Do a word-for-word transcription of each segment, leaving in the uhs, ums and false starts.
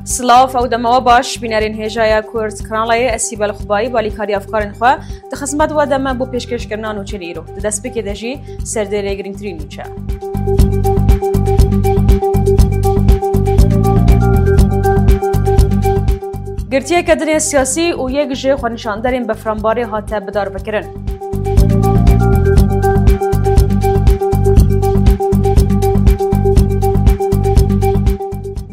Silav, ew dema we baş, bînerên hêjaya Kurd Kanalayê, ez Sîbel Xubayî, balîkarî efkarên xwe di xizmet we de me bo pêşkêşkirina nûçeyên îro. Di destpêkê de jî serdêrê girîngtirîn nûçe. Girtiyeke din ê siyasî û yek ji xwenîşanderên befranbarê hate bidarvekirin.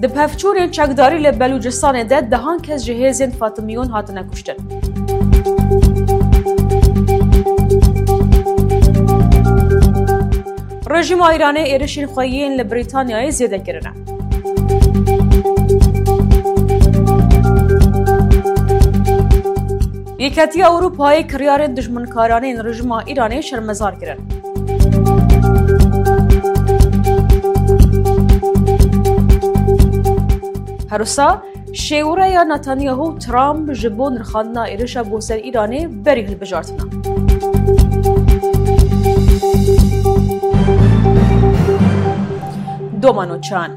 Di pevçûnên çekdarî li Belûcistanê de dehan kes ji hêzên Fatimiyûn hatine kuştin. Rejîma Îranê êrişên xwe yên li Brîtanyayê zêde kirine. Yeketiya Ewropayê kiryarên dijminkaraneyên rejîma Îranê şermezar kirin. Her wisa şêwireya Netanyahu û Trump ji bo nirxandina êrişa bo ser Îranê berî hilbijartina. Doma nûçeyan.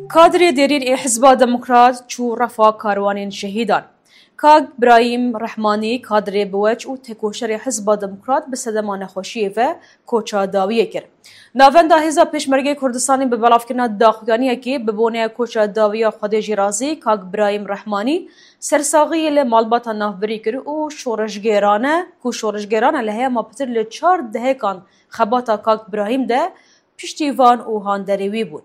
Kadrê dêrîn ê Hizba Demokrat çû refa karwanên şehîdan. Kak Birahîm Rehmanî, kadrê biweç û têkoşerê Hizba Demokrat bi sedema nexweşiyê ve koça dawiyê kir. Navenda Hêza Pêşmergê Kurdistanê bi belavkirina daxuyaniyekê bi boneya koça dawiya Xwedê jî razî, Kak Birahîm Rehmanî sersaxiyê li malbata navbirî kir û şoreşgêrane, ku şoreşgêrane li heyama pitir li çar dehekan xebata Kak Birahîm de piştîvan û handerê wî bûn.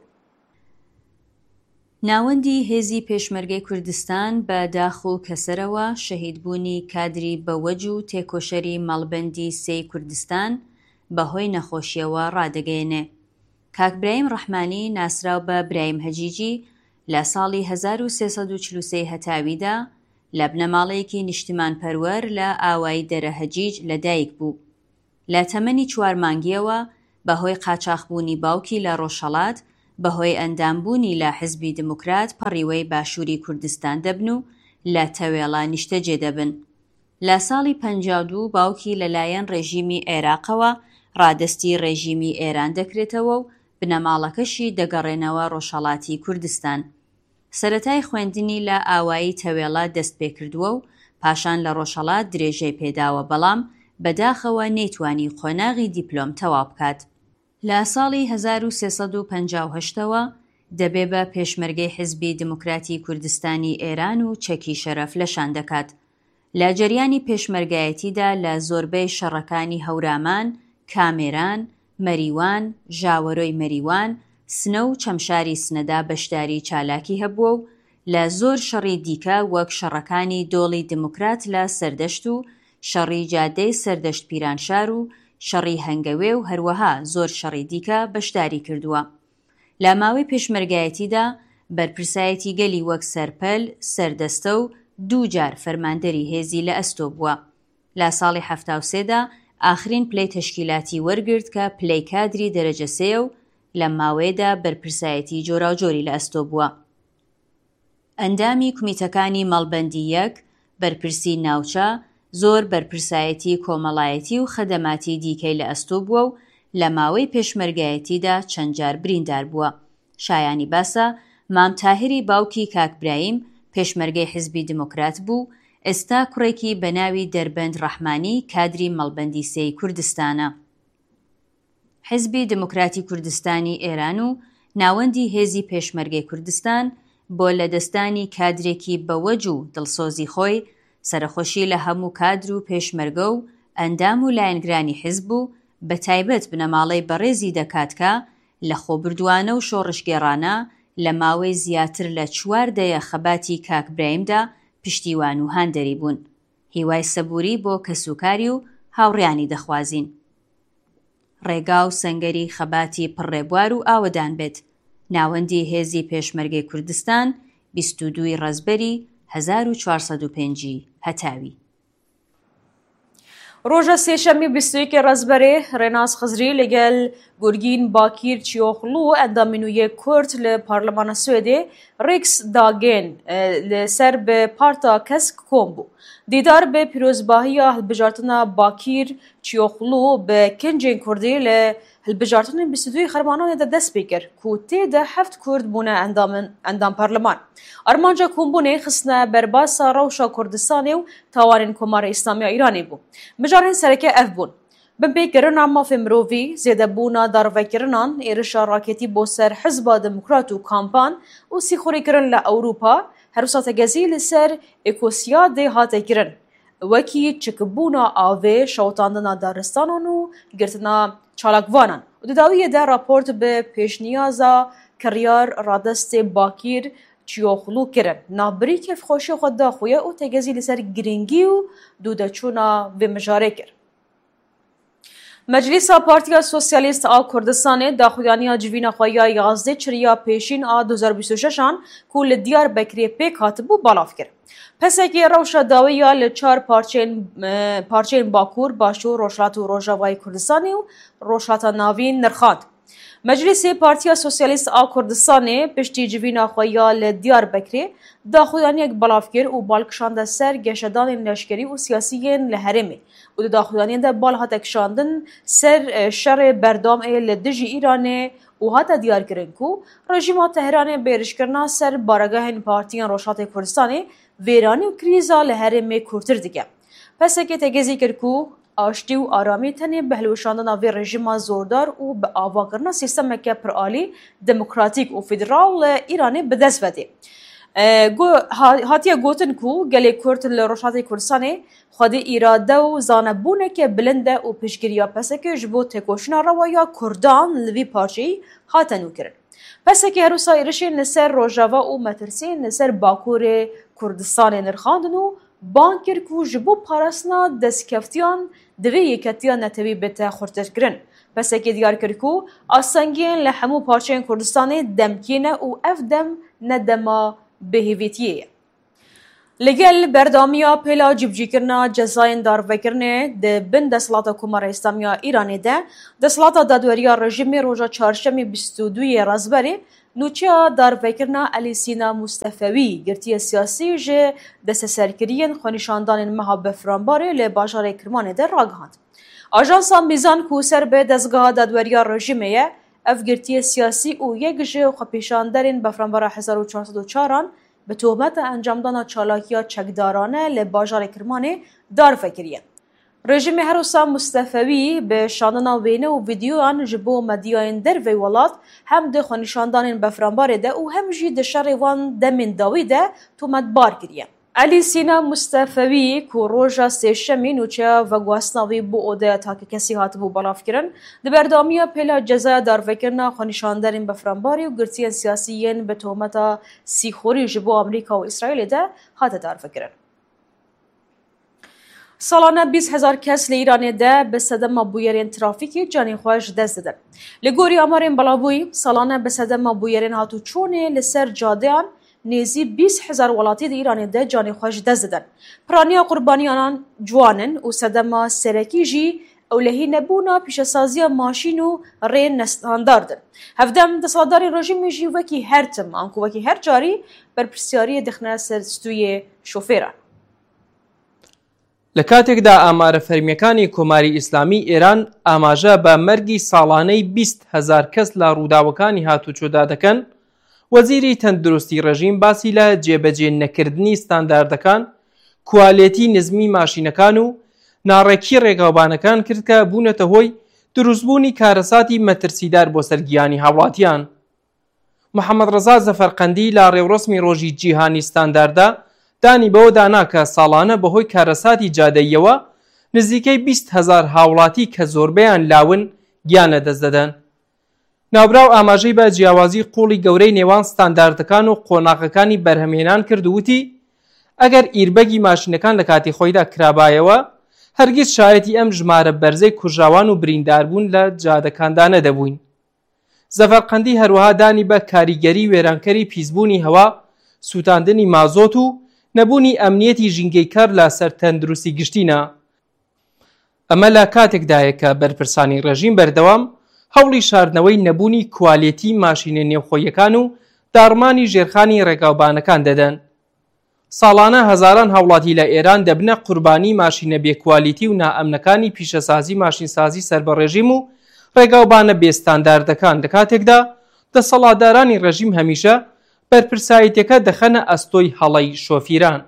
Navendî Hêzî Pêşmergê Kurdistan بە داخ و کەسەرەوە شەهیدبوونی کادری بەوەج و تێکۆشەری مەڵبەندی سێی کوردستان بەهۆی نەخۆشیەوە ڕادەگەیەنێ. کاک برایم ڕەحمانی، ناسراو بە برایم هەجیجی، لە ساڵی هەزار و سێ سەد و چل و سێ هەتاویدا لە بنەماڵەیەکی نیشتیمانپەروەر لە ئاوایی دەرە هەجیج لە دایک بوو. لە تەمەنی چوار مانگیەوە بەهۆی قاچاخبوونی باوکی لە ڕۆژهەڵات، بەهۆی ئەندامبوونی لە حزبی دیموکرات پەڕیوەی باشووری کوردستان دەبن و لە تەوێڵە نیشتەجێ دەبن. لە ساڵی پەنجا و دوو باوکی لەلایەن ڕێژیمی عێراقەوە ڕادەستی ڕێژیمی ئێران دەکرێتەوە و بنەماڵەکەشی دەگەڕێنەوە ڕۆژهەڵاتی کوردستان. سەرەتای خوێندنی لە ئاوایی تەوێڵە دەست پێکردووە و پاشان لە ڕۆژهەڵات درێژەی پێداوە، بەڵام بەداخەوە نەیتوانی قۆناغی دیپلۆم تەواو بکات. لە ساڵی هەزار و سێ سەد و پەنجا و هەشتەوە دەبێ بە پێشمەرگەی حزبی دیموکراتی کوردستانی ئێران و چەکی شەرەف لەشان دەکات. لە جەریانی پێشمەرگایەتیدا لە زۆربەی شەڕەکانی هەورامان، کامێران، مەریوان، ژاوەرۆی مەریوان، سنە و چەمشاری سنەدا بەشداری چالاکی هەبووە و لە زۆر شەڕی دیکە وەک شەڕەکانی دۆڵی دیموکرات لە سەردەشت و شەڕی جادەی سەردەشت پیرانشار و شەڕی هەنگەوێ و هەروەها زۆر شەڕی دیکە بەشداری کردووە. لە ماوەی پێشمەرگایەتیدا بەرپرسایەتی گەلی وەک سەرپەل، سەردەستە و دوو جار فەرماندەری هێزی لە ئەستۆ بووە. لە ساڵی حەفتا و سێدا ئاخرین پلەی تەشکیلاتی وەرگرت کە پلەی کادری دەرەجە سێیە و لە ماوەیەدا بەرپرسایەتی جۆراوجۆری لە ئەستۆ بووە. ئەندامی کومیتەکانی مەڵبەندی یەک، بەرپرسی ناوچە، زۆر بەرپرسایەتی کۆمەڵایەتی و خەدەماتی دیکەی لە ئەستۆ بووە و لە ماوەی پێشمەرگایەتیدا چەند جار بریندار بووە. شایانی باسە، مام تاهری باوکی کاک برایم پێشمەرگەی حزبی دیموکرات بوو، ئێستا کوڕێکی بە ناوی دەربەند ڕەحمانی کادری مەڵبەندی سێی کوردستانە. حزبی دیموکراتی کوردستانی ئێران و ناوەندی هێزی پێشمەرگەی کوردستان بۆ لەدەستدانی کادرێکی بەوەج و دڵسۆزی خۆی، سەرەخۆشی لە هەموو کادر و پێشمەرگە و ئەندام و لایەنگرانی حزب و بە تایبەت بنەماڵەی بەڕێزی دەکات کە لە خۆبردووانە و شۆڕشگێڕانە لە ماوەی زیاتر لە چوار دەیە خەباتی کاک براهیمدا پشتیوان و هاندەری بوون. هیوای سەبووری بۆ کەسوکاری و هاوڕیانی دەخوازین. ڕێگا و سەنگەری خەباتی پڕڕێبوار و ئاوەدان بێت. ناوەندی هێزی پێشمەرگەی کوردستان، بیست و دووی ڕەزبەری هەزار و چوار سەد و پێنجی هەتاوی. ڕۆژە سێشەمی بیست و یەکی ڕەزبەرێ ڕێناس خزری لەگەل گورگین باکیر چیۆخلو ئەندامی نوێ کورد لە پارلمانە سوێدێ ڕیکس داگێن، ئە، لەسەر بە پارتا کەسک کۆم بوو. Dîdar bi pîrozbahiya hilbijartina Bakîr Çîyoxlû bi kincên Kurdî li hilbijartinên bîst û duyê Xermananê de dest pê kir, ku tê de heft Kurd bûne endamên, endam parleman. Armanca kombûnê xistine berbasa rewşa Kurdistanê û tawanên Komarê Îslamî ya Îranê bû. Mijarên sereke ev bûn: binpêkirina mafê mirovî, zêdebûna darvekirinan, êrişa raketî bo ser Hizba Demokrat û kampan û sîxurîkirin li Ewropa, her wisa tegezî li ser Ekosiyadê hate kirin, wekî çikbûna avê, şewitandina daristanan û girtina çalakvanan. Û di dawiyê de raport bi pêşniyaza kiryar radestê Bakîr Çiyoxlu kirin. Navbirî kêfxweşiya xwe daxuye û tegezî li ser girîngî û dûdeçûna vê mijarê kir. Meclîsa Partiya Sosyalîst a Kurdistanê daxuyaniya civîna xwe ya yazdê çiriya pêşîn a du hezar bîst û şeş an ku li Diyarbekirê pêk hatibû balav kir. P S K'ê rewşa dawiya li çar parçeyên, e, parçeyên Bakur, Başûr, Rojhilat û Rojavayê Kurdistanê û Rojhilata Navîn nirxand. Meclîsê Partiya Sosyalîst a Kurdistanê piştî civîna xwe ya li Diyarbekirê daxuyaniyek belav kir û bal kişande ser geşedanên leşkerî û siyasî yên li herêmê û di daxuyaniyê de bal hate kişandin ser, e, şerê berdewam ê li dijî Îranê û hate diyarkirin ku rejîma Tehranê bi êrişkirina ser baregehên partiyên Rojhilatê Kurdistanê vêranî û krîza li herêmê kûrtir dike. P S K tegezî kir ku aştî û aramî tenê bi hilweşandina vê rejîma zordar û bi avakirina sîstemeke piralî, demokratîk û federal li Îranê bi dest ve tê. E, go-, ha-, hatiye gotin ku gelê Kurd li Rojhilatê Kurdistanê xwedî îrade û zanebûneke bilind e û piştgiriya P S K ji bo têkoşîna rewa ya Kurdan li vî parçeyî hate nûkirin. P S K her wisa êrişên li ser Rojava û metirsiyên li ser Bakurê Kurdistanê nirxandin û bang kir ku ji bo parastina destkeftiyan divê yeketiya netewî bête xurtirkirin. P S K diyar kir ku astengiyên li hemû parçeyên Kurdistanê demkî ne û ev dem ne dema bêhêvîtiyê ye. Li gel berdewamiya pêla cîbicîkirina cezayên darvekirinê di bin desthilata Komara Îslamî ya Îranê de, desthilata dadweriya rejîmê roja çarşemê bîst û duyê rezberê nûçeya darvekirina Elî Sîna Mustefewî, girtiyê siyasî ji desteserkiriyên xwenîşandanên meha Befranbarê li bajarê Kirmanê de ragihand. Ajansa Mîzan ku ser bi dezgeha dadweriya rejîmê ye, ev girtiyê siyasî û yek ji xwepêşanderên Befranbara hezar û çar sed û çar an bi tohmeta encamdana çalakiya çekdarane li bajarê Kirmanê darve kiriye. Rejîmê her wisa Mustefewî bi şandina wêne û vîdeoyan ji bo medyayên dervey welat hem di xwenîşandanên Befranbarê de û hem jî di şerê wan demên dawî de tometbar kiriye. Elî Sîna Mustefewî ku roja sêşemî nûçeya veguhastina wî bo odeya takekesî hatibû belavkirin, di berdewamiya pêla cezaya darvekirina xwenîşanderên Befranbarê û girtiyên siyasî yên bi tohmeta sîxurî ji bo Amerîka û Îsraîlê de hate darvekirin. Salane bîst hezar kes li Îranê de bi sedema bûyerên trafîkê canê xwe ji dest didin. Li gorî amarên belavbûyî, salane bi sedema bûyerên hatûçûnê li ser cadeyan nêzî bîst hezar welatî di Îranê de canê xwe ji dest didin. Piraniya qurbaniyanan ciwan in û sedema serekî jî ewlehî nebûna pîşesaziya maşîn û rêyên nestandard in. Hevdem desthilatdarên rejîmê jî wekî her tim, anku wekî her carî berpirsiyariyê dixine ser stûyê şofêran. لە کاتێکدا ئامارە فەرمییەکانی کۆماری ئیسلامی ئێران ئاماژە بە مەرگی ساڵانەی بیست هەزار کەس لە ڕووداوەکانی هاتوچۆدا دەکەن، وەزیری تەندروستی ڕژیم باسی لە جێبەجێ نەکردنی ستانداردەکان، کوالێتی نزمی ماشینەکان و ناڕێکی ڕێگاوبانەکان کرد کە بوونەتە هۆی دروستبوونی کارەساتی مەترسیدار بۆ سەر گیانی هاوڵاتیان. محەممەد ڕەزا زەفەرقەندی لە ڕێوڕەسمی ڕۆژی جیهانی ستاندارددا دانی بەوە دانا کە ساڵانە بەهۆی کارەساتی جادەییەوە نزیکەی بیست هەزار هاوڵاتی کە زۆربەیان لاون گیان لەدەست دەدەن. ناوبراو ئاماژەی بە جیاوازی قوڵی گەورەی نێوان ستانداردەکان و قۆناغەکانی بەرهەمهێنان کرد و وتی، ئەگەر ئیربەگی ماشینەکان لە کاتی خۆیدا کرابایەوە، هەرگیز شایەتی ئەم ژمارە بەرزەی کوژراوان و برینداربوون لە جادەکاندا نەدەبووین. زەفەرقەندی هەروەها دانی بە کاریگەری وێرانکەری پیسبوونی هەوا، سووتاندنی مازۆت و نەبوونی ئەمنیەتی ژینگەی کار لە سەر تەندروستی گشتینا. ئەمە لە کاتێکدایە کە بەرپرسانی ڕێژیم بەردەوام هەوڵی شاردنەوەی نەبوونی کوالێتی ماشینە نێوخۆیەکان و داڕمانی ژێرخانی ڕێگاوبانەکان دەدەن. ساڵانە هەزاران هاوڵاتی لە ئێران دەبنە قوربانی ماشینە بێکوالیتی و نائەمنەکانی پیشەسازی ماشینسازی سەر بە ڕێژیم و ڕێگاوبانە بێستانداردەکان، لە کاتێکدا دەسەڵاتدارانی ڕێژیم هەمیشە بەرپرسایەتیەکە دەخەنە ئەستۆی هەڵەی شۆفیران.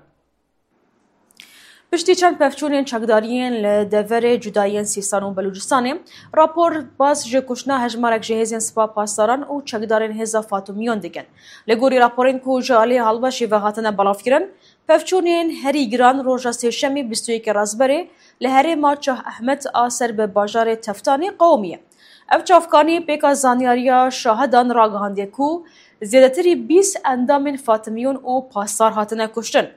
Piştî çend pevçûnên çekdariyên li deverê cudayiyên Sîstan û Belûcistanê, rapor bas ji kuştina hejmarek ji hêzên Spa Pasdaran û çekdarên hêza Fatimyon dikin. Li gorî raporên ku ji alî Halbeşê ve hatine belavkirin, pevçûnên herî giran roja Sêşemê bîst û yekê Razberê li herêma Çah Ehmed a ser bi bajarê Teftanê qewimiye. Ev çavkanî pêka zanyariya şahidan ragihandiye ku zêdetirî bîst endamên Fatimyon û Pasdar hatine kuştin.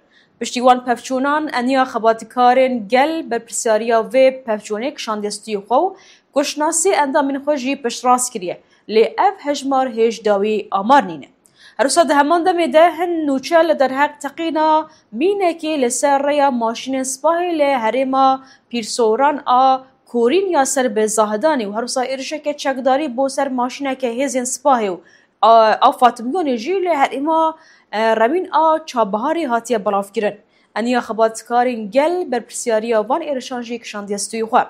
Piştî wan pevçûnan, eniya xebatkarên gel berpirsyariya vê pevçûnê kişandiye stûyê xwe û kuştina sê endamên xwe jî piştrast kiriye, lê ev hejmar hêj dawî amar nîne. Her wisa di heman demê de hin nûçe li derheq teqîna mînekê li ser rêya maşînên sipahê li herêma Pîrsoran a Korîn ya ser bi Zahidanê û her wisa êrişeke çekdarî bo ser maşîneke hêzên sipahê û a, a Fatimyonê jî li herêma, e, Rewîn a Çabiharê hatiye belavkirin. Eniya xebatkarên gel berpirsyariya van êrişan jî kişandiye stûyê xwe.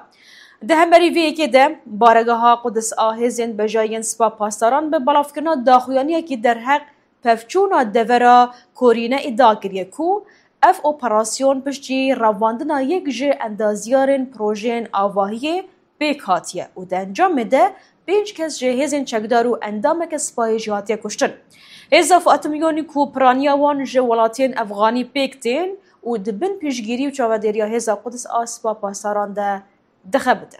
Di hemberî vê yekê de, baregeha Qudis a hêzên bejayiyên Spa Pasdaran bi belavkirina daxuyaniyekî derheq pevçûna devera Korîne îdia kiriye ku ev operasyon piştî revandina yek ji endaziyarên projeyên avahiyê pêk hatiye û di encamê de pênc kes ji hêzên çekdar û endameke sipahê jî hatiye kuştin. Hêza Fatimyonî ku piraniya wan ji welatiyên Efxanî pêk tên û di bin piştgîrî û çavedêriya hêza Qudis a Spa Pasdaran de dixebitin.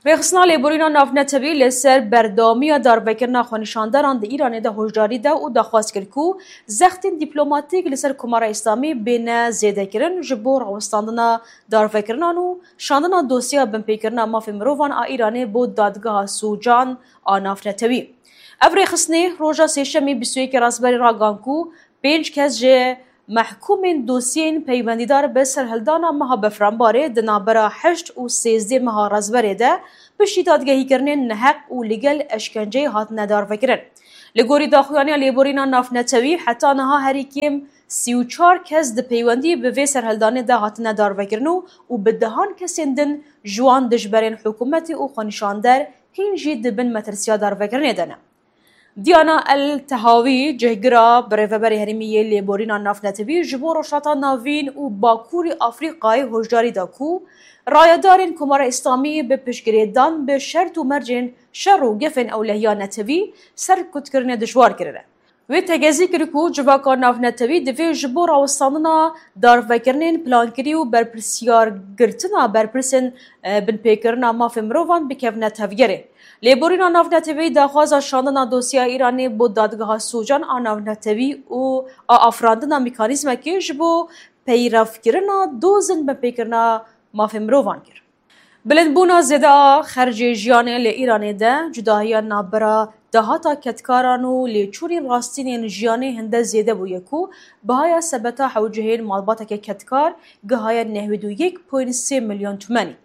Rêxistina Lêborîna Navnetewî li ser berdewamiya darvekirina xwenîşandaran di Îranê de hoşdarî da û daxwaz kir ku zextên dîplomatîk li ser Komara Îslamî bêne zêdekirin ji bo rawestandina darvekirinan û şandina dosyeya binpêkirina mafê mirovan a Îranê bo dadgeha sûcan a navnetewî. Ev rêxistinê roja Sêşemê bîst û yekê Razberê ragihan ku pênc kes ji mehkûmên dosyeyên peywendîdar bi serhildana meha Befranbarê di navbera heşt û sêzdeh meha Razberê de piştî dadgehîkirinên neheq û li gel eşkenceyê hatine darvekirin. Li gorî daxuyaniya Lêborîna Navnetewî, heta niha herî kêm sî û çar kes di peywendî bi vê serhildanê de hatine darvekirin û û bi dehan kesên din ji wan dijberên hikûmetê û xwenîşander hîn jî di bin metirsiya darvekirinê de ne. Diana El Tehawî, cihgira birêveberê herêmî yê Lêborîna Navnetewî ji bo Rojhilata Navîn û Bakurî Afrîkayê hoşdarî da ku rayedarên Komara Îslamî bi piştgirêdan bi şert û mercên şer û gefên ewlehiya netewî serkutkirinê dijwar kirine. Wê tegezî kir ku civaka navnetewî divê ji bo rawestandina darvekirinên plankirî û berpirsyargirtina berpirsên, e, binpêkirina mafê mirovan bikevine tevgerê. Lêborîna Navnetewî daxwaza şandina dosyeya Îranê bo Dadgeha Sûcan a Navnetewî û a afirandina mekanîzmekê ji bo peyrevkirina dozên binpêkirina mafê mirovan kir. Bilindbûna zêde a xercê jiyanê li Îranê de cudahiya navbera dahata kedkaran û lêçûnên rastînên jiyanê hinde zêde bûye ku bihaya sebeta hewcehên malbateke kedkar gihaye nehwêd û yek point sê milyon tumenî.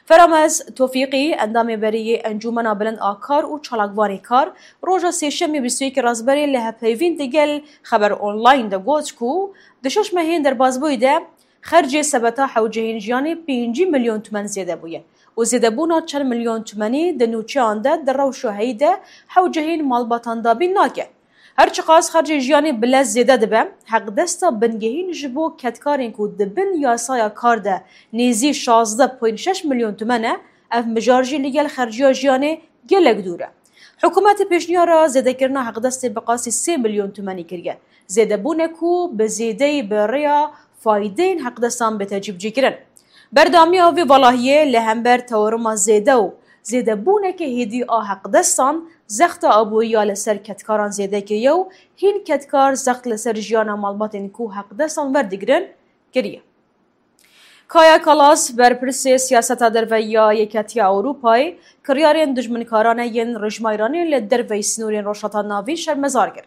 Feramez Tofîqî, endamê berê yê Encûmena Bilind a Kar û çalakvanê kar, roja Sêşemê bîst û yekê Razberê li hevpeyvîn digel Xeber Online de got ku di şeş mehên derbasbûyî de xercê sebeta hewcehên jiyanê pêncî milyon tumen zêde bûye û zêdebûna çend milyon tumenî di nûçeyan de di rewşa heyî de hewcehên malbatan dabîn nake. Her çiqas xercê jiyanê bi lez zêde dibe, heqdesta bingehîn ji bo kedkarên ku di bin yasaya kar de nêzî şazdeh point şeş milyon tumen e, ev mijar jî li gel xerciya jiyanê gelek dûr e. Hikûmetê pêşniyara zêdekirina heqdestê bi qasî sê milyon tumenî kiriye. Zêdebûne ku bi zêdeyî bi rêya faydeyên heqdestan bête cîbicîkirin. Berdewamiya vê valahiyê li hember tewaruma zêde û zêdebûneke hêdî a heqdestan zexta aborî ya li ser kedkaran zêde kiriye û hîn kedkar zext li ser jiyana malbatên ku heqdestan werdigirin kiriye. Kaja Kallas, berpirsê siyaseta derve ya Yeketiya Ewropayê, kiryarên dijminkarane yên rejîma Îranê li derveyî sînorên Rojhilata Navîn şermezar kir.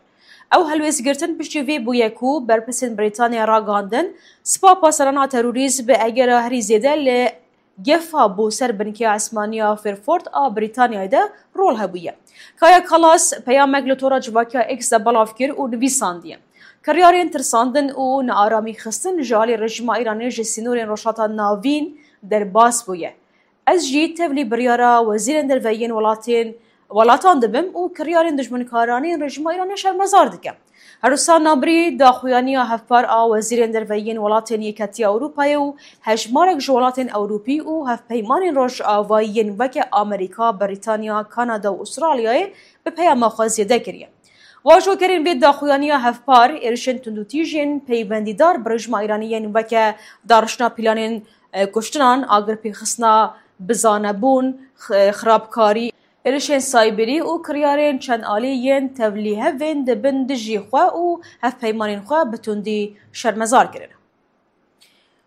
Ew helwêstgirtin piştî vê bûye ku berpirsên Brîtanyayê ragihandin, Spa Pasdaran a terorîst bi egera herî zêde li gefa bo ser binkeya esmaniya Fairford a Brîtanyayê de rol hebûye. Kaya Kallas peyamek li tora civakiya X de belav kir û nivîsandiye: Kiryarên tirsandin û nearamî xistin ji alî rejîma Îranê ji sînorên Rojhilata Navîn derbas bûye. Ez jî tevlî biryara wezîrên derve yên welatên, welatan dibim û kiryarên dijminkaranê yên rejîma Îranê şermezar dikim. Her wisa nabirî daxuyaniya hevpar a wezîrên derve yên welatên Yeketiya Ewropayê û hejmarek ji welatên Ewropî û hevpeymanên Rojavayî yên weke Amerîka, Brîtanya, Kanada û Ûstralyayê bi peyama xwe zêde kiriye. Vajokerên vê daxuyaniya hevpar êrişên tundûtîjên peywendîdar bi rejîma Îranî yên weke darişna planên, e, kuştinan, agirpêxistina bizanebûn, x-, xirabkarî, êrişên sayberî û kiryarên çend alî yên tevlîhevên dibin dijî xwe û hevpeymanên xwe bi tundî şermezar kirin.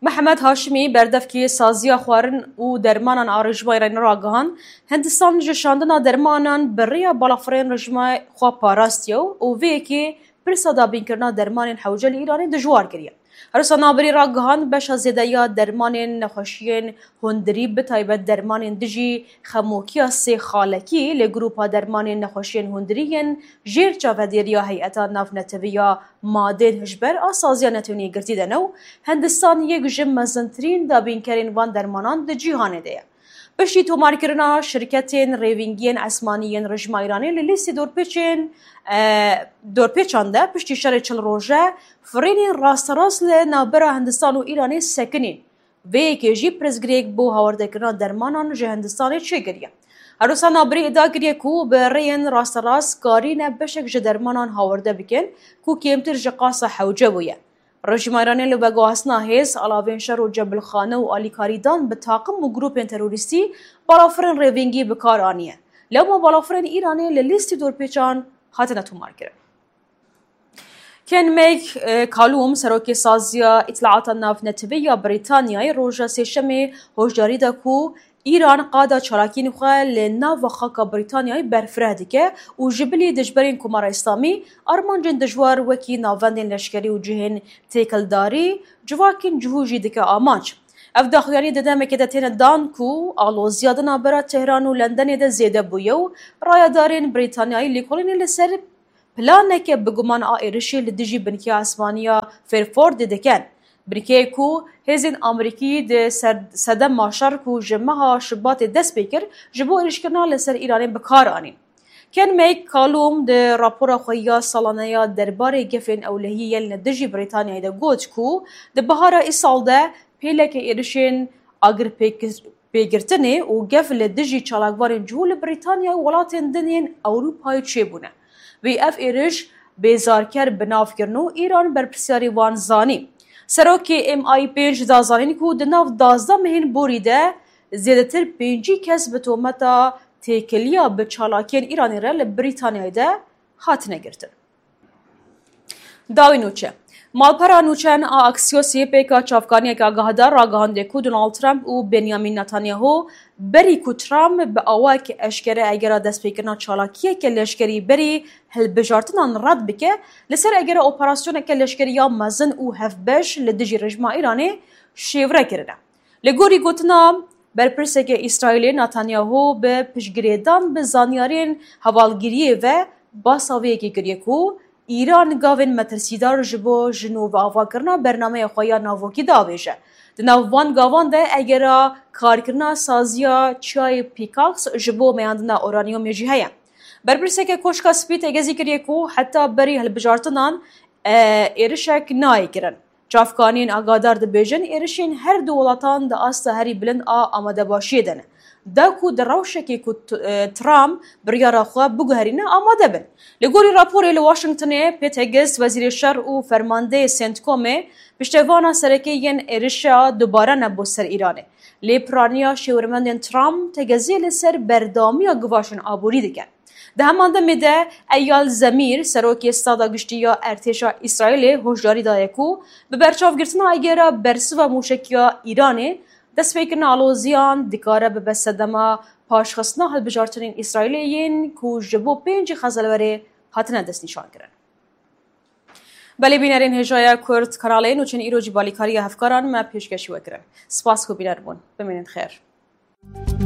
Mihemed Haşimî, berdevkê saziya xwarin û dermanan a rejîma Îranê ragihand, Hindistan ji şandina dermanan bi rêya balafirên rejîma xwe parastiye û vê yekê pirsa dabînkirina dermanên hewce li Îranê dijwar kiriye. Her wisa nabirî ragihand, beşa zêde ya dermanên nexweşiyên hundirî, bi taybet dermanên dijî xemokiya sê xalekî li grûpa dermanên nexweşiyên hundirî yên jêr çavedêriya Heyeta Navnetewî ya Madên Hişber a Saziya Netewên Yekgirtî de ne û Hindistan yek ji mezintirîn dabînkerên van dermanan di cîhanê de ye. Piştî tomarkirina şirketên rêvîngiyên esmanî yên rejîma Îranê li lîstê dorpêçên, e, dorpêçan de, piştî şerê çil roje, firênên rasterast li navbera Hindistan û Îranê sekinîn. Vê yekê jî pirsgirêk bo hawardekirina dermanan ji Hindistanê çêkiriye. Her wisa nabirî îdia kiriye ku bi rêyên rasterast karîne beşek ji dermanan hawarde bikin ku kêmtir ji qasa hewce bûye. Rejîma Îranê li veguhastina hêz, alavên şer û cebilxane û alîkarî dan bi taqim û grûpên terorîstî balafirên rêvîngî bi kar aniye. Lewma balafirên Îranê li lîstî dorpêçan hatine tomarkirin. Ken Meg, e, Kalûm, serokê saziya îtilaata navnetewî ya Brîtanyayê, roja Sêşemê hoşdarî da ku Îran qada çalakiyên xwe li nava xaka Brîtanyayê berfireh dike û ji bilî dijberên Komara Îslamî armancên dijwar wekî navendên leşkerî û cihên têkildarî, civakên cihû jî dike amanc. Ev daxuyanî di demekê de têne dan ku aloziya di navbera Tehran û Lendenê de zêde bûye û rayedarên Brîtanyayî lêkolînê li ser planeke bi guman a êrişê li dijî binkeya esmaniya Fairfordê dikin. Binkeyê ku hêzên Amerîkî di ser-, sedema şer ku ji meha Şubatê dest pê kir, ji bo êrişkirina li ser Îranê bi kar anîn. Ken Meg Kalûm di rapora xwe ya salane ya derbarê gefên ewlehiyê yên li dijî Brîtanyayê de got ku di bihara îsal de pêleke êrişên agirpêkir-, pêgirtinê û gef li dijî çalakvanên cihû li Brîtanya û welatên din yên Ewropayê çêbûne. Wî ev êriş bêzarker bi nav kirin û Îran berpirsyarê wan zanî. Serokê M I pênc da zanîn ku di nav duwazdeh mehên borî de zêdetir pêncî kes bi tometa têkiliya bi çalakiyên Îranê re li Brîtanyayê de hatine girtin. Dawî nûçe. Malpera nûçeyan a Axiosê pêka çavkaniyeke agahdar ragihandiye ku Donald Trump û Benjamin Netanyahu berî ku Trump bi awayeke eşkere egera destpêkirina çalakiyeke leşkerî berî hilbijartinan red bike, li ser egera operasyoneke leşkerî ya mezin û hevbeş li dijî rejîma Îranê şêwre kirine. Li gorî gotina berpirseke Îsraîlê, Netanyahu bi piştgirêdan bi zanyarên hevalgiriyê ve basa vê yekê kiriye ku Îran gavên metirsîdar ji bo ji nû ve avakirina bernameya xwe ya navokî diavêje. Di nav van gavan de egera karkirina saziya çiyayê Pîkaks ji bo meyandina uranyumê jî heye. Berpirseke Koşka Spî tegezî kiriye ku heta berî hilbijartinan, e, êrişek nayê kirin. Çavkaniyên agadar dibêjin, êrişên her du welatan di asta herî bilind a amadebaşiyê de ne. Da ku di rewşekê ku t-, e, Trump biryara xwe biguherîne amade bin. Li gorî raporê li Washingtonê, Pete Hegist, wezîrê şer û fermandeyê CENTCOMê, piştevana sereke yên êrişa dubare ne bo ser Îranê. Lê piraniya şêwirmendên Trump tegeziyê li ser berdewamiya givaşên aborî dike. Di heman demê de Eyal Zemîr, serokê Stada Giştî ya Ertêşa Îsraîlê, hoşdarî daye ku bi berçavgirtina egera bersiva mûşekiya Îranê, destpêkirina aloziyan dikare bibe sedema paşxistina hilbijartinên Îsraîlê yên ku ji bo pêncî Xezalwerê hatine destnîşankirin. Belê bînerên hêjaya Kurd Kanalê, nûçên îro jî balîkariya hevkaran me pêşkêşî we kirin. Spas ku bîner bûn. Bimînin xêr.